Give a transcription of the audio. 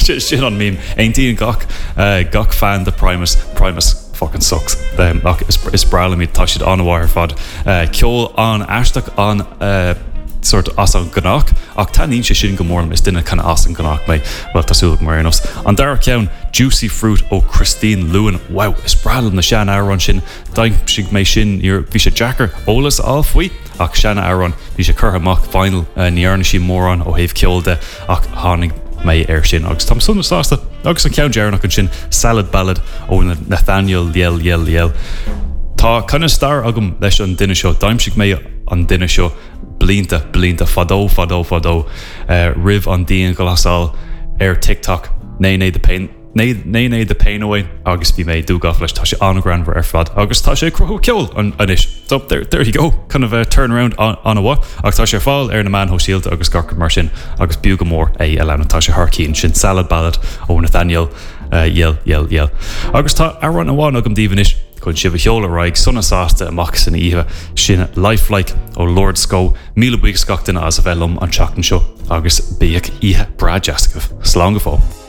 Sin an meme. Aontaíonn gach gach fan de Primus, Primus fucking sucks. Ach is breá liom iad, tá siad an-mhaith ar fad. Ceol an-aisteach, an sort as an gnách, ach taitníonn sé sin go mór liom, is duine kind of as an gnách mé, bhuel tá súil agam ar aon nós. An dara ceann, Juicy Fruit ó Christine Lewin. Wow, is breá liom na sean-amhráin sin, d'aimsigh mé sin, bhí sé deacair eolas a fháil faoi, ach sean-amhrán, bhí sé curtha amach, vinyl, ní dhearna sí mórán ó thaobh ceoil de ach tháinig mé air sin agus táim sona sásta. Agus an ceann deireanach ansin, Salad Ballad ó Nathaniel Yell Yell Yell. Tá kind of stair agam leis an duine seo, d'aimsigh mé an duine seo blianta, blianta, fadó, fadó, fadó, roimh an dianghlasáil ar TikTok, Nene the Pain. Nene the Pain Away agus bhí mé dúghafa leis, tá sé an-ghreannmhar ar fad agus tá sé ag cruthú ceoil anois. So there, there you go, kind of a turnaround an-mhaith ach tá sé ar fáil ar na meáin shóisialta agus gach rud mar sin agus b'fhiú go mór é a leanúint, tá sé thar cinn, sin Salad Ballad ó Nathaniel Yell Yell Yell. Agus tá amhrán amháin agam daoibh anois chun sibh a sheoladh ar aghaidh sona sásta amach san oíche, sin Lifelike ó Lord Sco. Míle buíochas gach duine as a bheith liom an tseachtain seo agus bíodh oíche breá deas agaibh. Slán go fóill.